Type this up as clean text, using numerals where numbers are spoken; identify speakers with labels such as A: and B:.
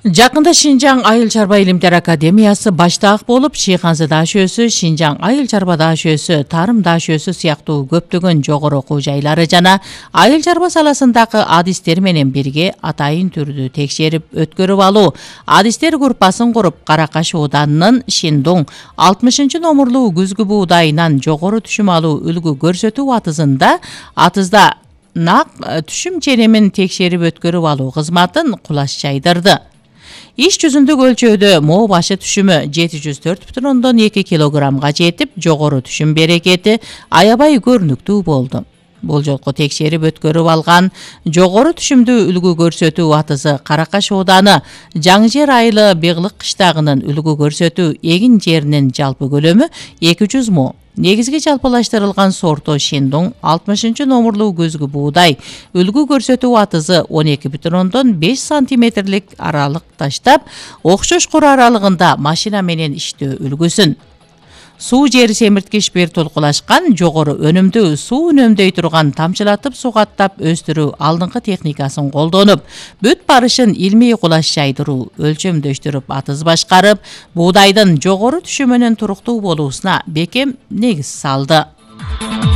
A: Жакында Шинжаң айыл чарба илимдер академиясы баштаак болуп, Шыйханзы даашөсү, Шинжаң айыл чарба даашөсү, Тарым даашөсү сыяктуу көптөгөн жогору окуу жайлары жана айыл чарба саласындагы адистер менен бирге атайын түрдүү текшерип өткөрүп алуу адистер группасын куруп, Каракаш ооданынын Шиндуң 60-номурлуу күзгү буудайынан жогору түшүм алуу үлгү көрсөтүү атызда нак түшүм ченемин текшерип өткөрүп алуу кызматын кулаш жайдырды. Иш жүзүндүк өлчөөдө моо башы түшүмү 704,2 килограммга жетип, жогору түшүм берекети аябай көрүнүктүү болду. Бул жолку текшерип өткөрүп алган жогору түшүмдүү үлгү көрсөтүү атызы Каракаш ооданы Жаңжер айылы Беглык кыштагынын үлгү көрсөтүү эгин жеринин жалпы көлөмү 200 мо. Негизги жалпылаштырылган сорту Шиндуң 60-номурлуу күзгү буудай үлгү көрсөтүү атызы 12,5 сантиметрлик аралык таштап, окшош кур аралыгында машина менен иштөө үлгүсүн. Суу жери семирткич бир толкулашкан, жогору өнүмдүү суу үнөмдөй турган тамчылатып сугаттап өстүрүү алдыңкы техникасын колдонуп, бүт барышын илмий кулаш жайдыруу өлчөмдөштүрүп атыз башкарып, буудайдын жогору түшүмүнүн туруктуу болуусуна бекем негиз салды.